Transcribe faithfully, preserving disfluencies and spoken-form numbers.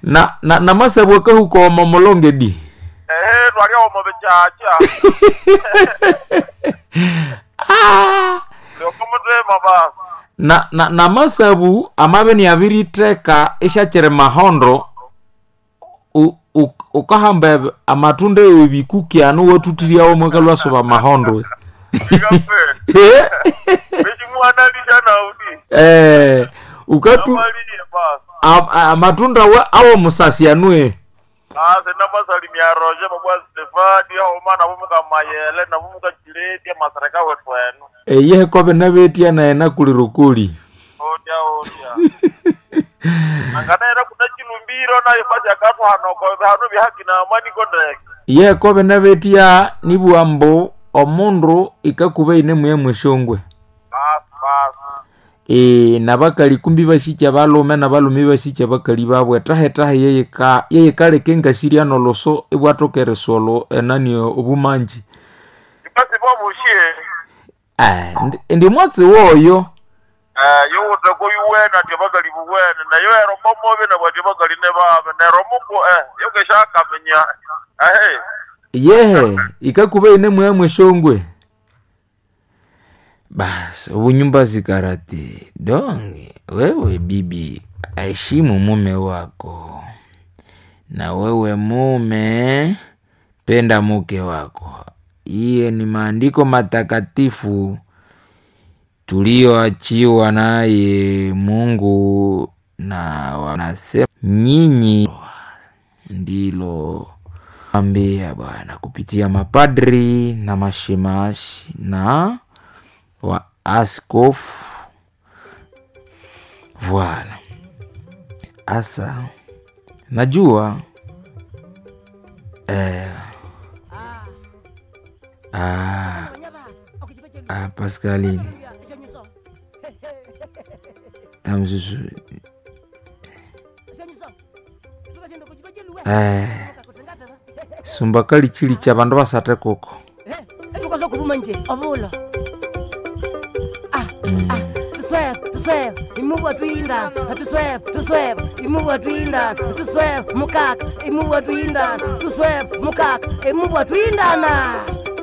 Na na namasabwa kahuka omo mulonge di. Ehe twalya omo bichacha. Ah! Lyokomuthima basi. Na na namasabu amabe ni abiritheka isyakyiri mahondo u- u- ukahamba eb- amatunda ebikuki anu wathuthiryawo mwakalwasuba mahondo. Ikape. Bechimuhanalisha naudi. Eh, ukatu Namaliye basi. am- amatunda wa- awo musasi anue. Ase namasalimia Roje babwa Stefani aho nabo mukamayele nabo mukachileti amasareka wethu eno. Eyehe kobe nabetya naye nakulirukuli. Otya otya. Anganaera kuna chilumbiro nayo basi akathu hano hano bihaki na amani kondeke. Yehe kobe nabetya nibugha mbu omundu ikakuba ine muya mweshongwe. Basi basi. E, nabakali kumbi basikya balume nabalume basikya bakali babwe etaha-etaha yeyika yeyikaleka engasirya noloso ibwathoka erisolo enani obumanji. Basi bobushie. Ah, ndi- ndi mwatsi woyo. Eh yuwuthe kuyuwena ati bakali buwene nayo ero momobe nabo ati bakali ne babe nero muko eh yokeshakamenya. Ehe. Yehe ikakuba ine muya mweshongwe. Basi obunyumba zikarate donge wewe bibi aheshimu mume wako na wewe mume penda mke wako. Hiyo ni maandiko matakatifu tuliyoachiwa naye Mungu, na wanasema nyinyi ndilo ambia Bwana kupitia mapadri na mashemashi na wa askofu. Voilà. Asa najua eh, ah, ah, Pascaline tamzuzu eh, sumba kali chili cha bandu basate kuko etukazokuvuma nje ovula mm. tusweve tusweve imuva twinda tusweve tusweve imuva twinda tusweve mukaka imuva twinda tusweve mukaka imuva twindana.